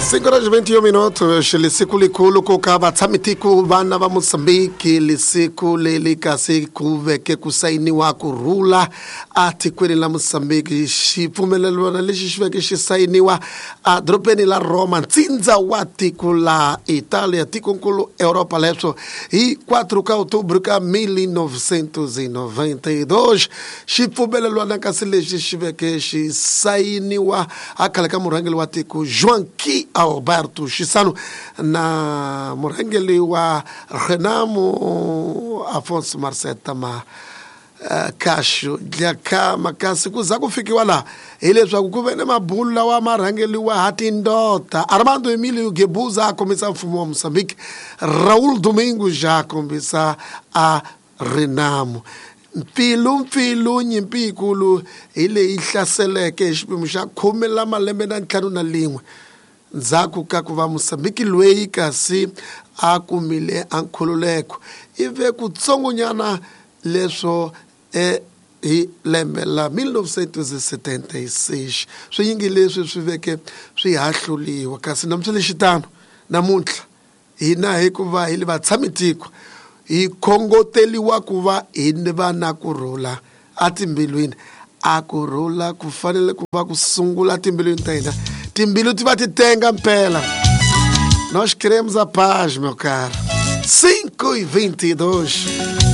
5 horas 21 minutos lisiku likulu ku ka vatshamitiko vana va Mozambique lisiku leli kasi ku veke ku sayiniwa ku rhula atikweni la Mozambique xipfumelelwana lexi xi veke xi sayiniwa edorobeni la Roma ntsindza wa tiko la Italia tikonkulu Europa leswo hi 4 ka outubro ka 1992 xipfumelelwana kasi lexi xi veke xi sayiniwa a khale ka murhangeri wa tiko Joaquim Alberto Chissano na murhangeri wa Renamo Afonso Marceta ma Casho Dhlakama kasi ku za ku fikiwa laha hileswaku ku ve ni mabulu lawa ma rhangeriwa ha tindota Armando Emilio Guebuza a kombisa mfumo wa Mozambique Raul Domingos a kombisa a Renamo mpfilumpfilu nyimpi yikulu hi leyi hlaseleke hi xipimo xa khume la malembe na ntlhanu na lin'we ndzhaku ka ku va Mozambique loyi kasi a kumile a nkhululeko ive kutsongonyana leswo hi lembe la 1976 swinyingi leswi swi veke swi hahluliwa kasi namuntlha lexitano namuntlha hina hikuva hi li vatshamitiko hi khongoteliwa ku va hi va na ku rhula atimbilwini a ku rhula ku fanele ku va ku sungula timbilwini ta hina timbilu ti va ti tenga mpela nós queremos a paz meu caro 5 e 22.